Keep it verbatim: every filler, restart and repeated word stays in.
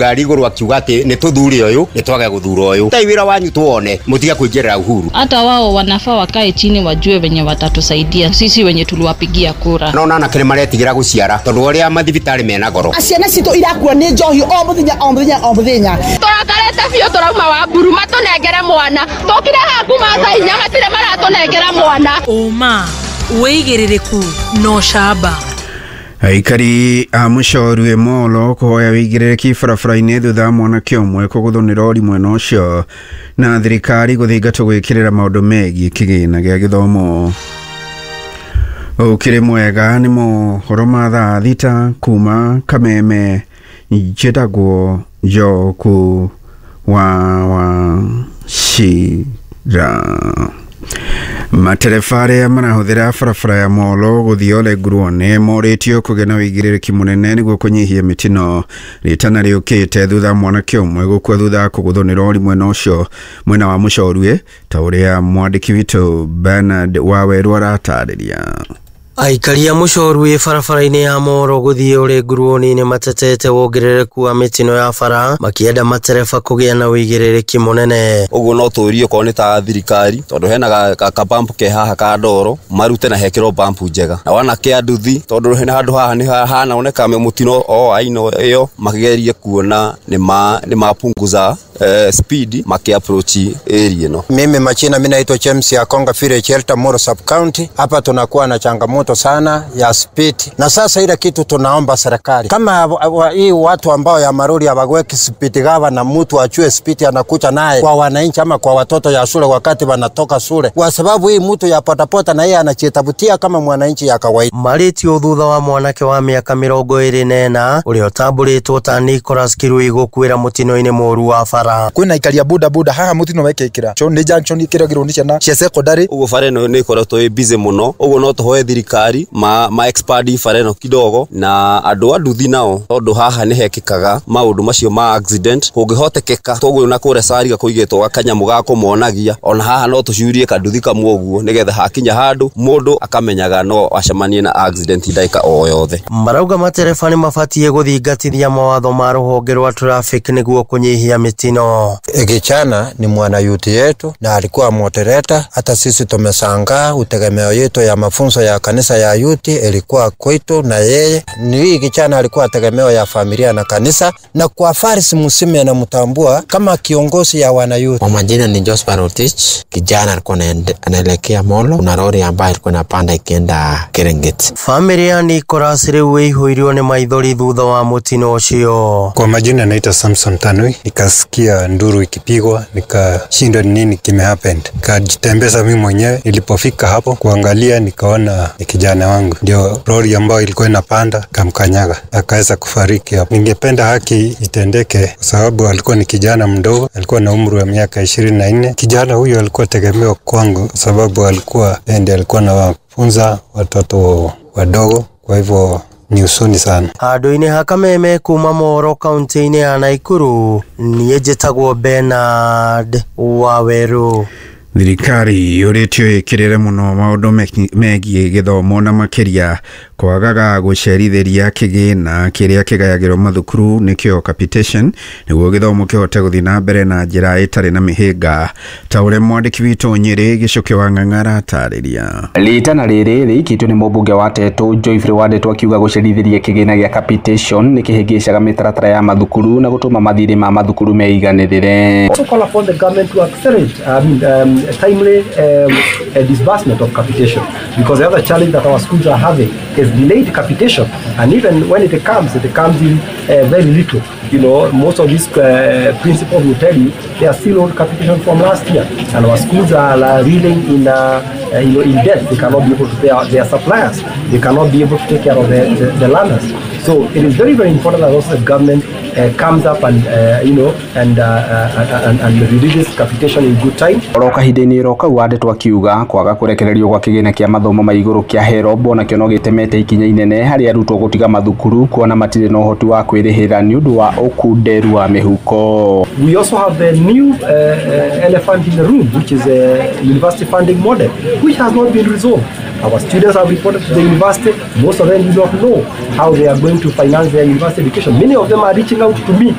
ngari iguru akiuga ati ni tuthure uyu ni twage guthura uyu tai wira wanyu tuone mutige kuingirira Uhuru. Hata wao wanafaa wakae chini wajue wenye watatusaidia sisi wenye tuliwapigia kura. Naona anake ni maretigira guciara tondu uria mathibitari mena goro. Ciana citu irakua ni njohi o muthenya o muthenya o muthenya. Turakarete biũ turauma wa mburu matunengere mwana tukire haku mathaa inya matire maratunengera mwana. Uma wĩigĩrĩrĩku no camba. Aikari a Mũcorwe Molo kũhoya wĩigĩrĩrĩki barabara-inĩ thutha wa mwanake ũmwe kũgũthwo nĩ rori mwena ũcio na thirikari gũthingatwo gwĩkĩrĩra maũndũ megiĩ kĩgĩna gĩa gĩthomo. Ũkĩrĩ mwega nĩ mohoro ma thaa thita kuma Kameme. Njĩtagwo Njoku wa Wachira. Matereba arĩa marahũthĩra barabara ya Molo gũthiĩ Ole Ngurũane morĩtio kũgĩa na wĩigĩrĩrĩki mũnene nĩguo kũnyihia mĩtino rĩtana rĩũkĩte thutha wa mwanake ũmwe gũkua thutha wa kũgũthwo nĩ rori mwena ũcio mwena wa Mũcorwe ta ũrĩa mwandĩki witũ Bernard Wawerũ aratarĩria. Aikari a Mũcorwe barabara-inĩ ya Molo gũthiĩ Ole Ngurũani nĩ matetete wongerereku wa mĩtino ya bara makĩenda matereba kũgĩa na wĩigĩrĩrĩki mũnene. Ũguo no tũrie okorwo nĩ ta thirikari tondũ hena ka bump ke haha ka ndoro marute na hekĩrwo bump njega na wanake a nduthi tondũ hena handũ haha nĩ hanaoneka mũtino o aina ĩyo magerie kuona nĩ ma nĩ mapunguza eh, speed maki approach area no. Mimi machina mimi naitwa James ya Konga Village Elta Molo Sub County. Hapa tunakuwa na changamoto sana ya speed, na sasa ile kitu tunaomba serikali kama hii watu ambao ya marori hawaweki speed gawa na mtu achue speed anakucha naye kwa wananchi ama kwa watoto ya shule wakati wanatoka shule, kwa sababu hii mtu ya potapota na yeye anachitabutia kama mwananchi ya kawaida. Marĩtio thutha wa mwanake wa mĩaka mĩrongo ĩrĩ na ĩna ũrĩa ũtambũrĩtwo ta Nicholas Kirui gũkuĩra mũtino-inĩ mũru wa bara. Kwĩna aikari a boda boda haha mũtino wekĩkĩra nĩ junction ikĩragĩrwo nĩ ciana cia secondary. Ũguo bara ĩno nĩ ĩkoretwo ĩ busy mũno, ũguo no tũhoe thirikari ma ma expand bara ĩno kidogo na andũ a nduthi nao tondũ haha nĩ hekĩkaga maũndũ macio ma accident kũngĩhotekeka toguo na kũrĩa Sariga kũigĩtwo gakanyamũ ga kũmonagia ona haha no tũcurie kanduthi kamwe ũguo nĩgetha hakinya handũ mũndũ akamenyaga no acemanie na accident ndagĩka o yothe. Marauga matereba nĩ mabatiĩ gũthingatithia mawatho ma rũhonge rwa traffic nĩguo kũnyihia mĩtino. Kichana ni mwana yuti yetu na alikuwa moderator. Hata sisi tumeshangaa utegemeo yetu ya mafunzo ya kanisa ya yuti ilikuwa kwetu na yeye. Ni hii kichana alikuwa tegemeo ya familia na kanisa, na kwa Farisi Musime anamtambua kama kiongozi ya wana yuti. Kwa majina ni Joseph Rotich. Kijana alikuwa anaelekea Molo, kuna lori ambayo ilikuwa inapanda ikienda Serengeti. Familia ya Nicholas rĩu ĩihũirwo nĩ maithori thutha wa mũtino ũcio. Kwa majina naitwa Samson Tanui. Nikasikia nduru ikipigwa nikashindwa ni nini kime happened. Nikajitembeza mimi mwenyewe. Nilipofika hapo kuangalia nikaona ni kijana wangu, ndio lori ambayo ilikuwa inapanda kamkanyaga akaweza kufariki hapo. Ningependa haki itendeke kwa sababu alikuwa ni kijana mdogo, alikuwa na umri wa miaka ishirini na nne. Kijana huyo alikuwa tegemeo kwangu kwa sababu alikuwa ndiye alikuwa anawafunza watoto wadogo, kwa hivyo ni usoni sana. Handũ-inĩ ha Kameme kuma Moro kaunti-inĩ ya Nakuru niĩ njĩtagwo Bernard Wawerũ. Thirikari yũrĩtio ĩkĩrĩre mũno maũndũ megiĩ gĩthomo na makĩria kwagaga gũcerithĩria kĩgĩna kĩrĩa kĩgayagĩrwo mathukuru nĩkĩo capitation nĩguo gĩthomo kĩhote gũthiĩ na mbere na njĩra ĩtarĩ na mĩhĩnga ta ũrĩa mwandĩki witũ Nyĩrĩ Gĩcũkĩ wa Ng'ang'a aratarĩria. Rĩtana rĩrĩ rĩikĩtio nĩ mũmbunge wa Tetu Geoffrey Wandeto akiuga gũcerithĩria kĩgĩna gĩa capitation nĩ kĩhĩngĩcaga mĩtaratara ya mathukuru na gũtũma mathirĩ ma mathukuru meiganĩrĩre. Also call upon the government to accelerate I mean, um, a timely um, a disbursement of capitation, because the other challenge that our schools are having is delayed capitation, and even when it comes, it comes in uh, very little. You know, most of these uh, principals will tell you they are still on capitation from last year, and our schools are uh, reeling in, uh, uh, you know, in debt. They cannot be able to pay our, their suppliers. They cannot be able to take care of the, the, the learners. So it is very, very important that also the government uh, comes up and uh, you know and, uh, uh, and and releases capitation in good time. Oro kahinda-inĩ ro kau Wandeto akiuga kwaga kũrekererio gwa kĩgĩna kĩa mathomo ma igũrũ kĩa HELB onakĩo no gĩtemete ikinya inene harĩ arutwo gũtiga mathukuru kuona matirĩ na ũhoti wa kwĩrĩhĩra nĩ ũndũ wa ũkunderu wa mĩhuko. We also have the new uh, uh, elephant in the room, which is a university funding model, which has not been resolved. Our students have reported to the university. Most of them do not know how they are going to finance their university education. Many of them are reaching out to me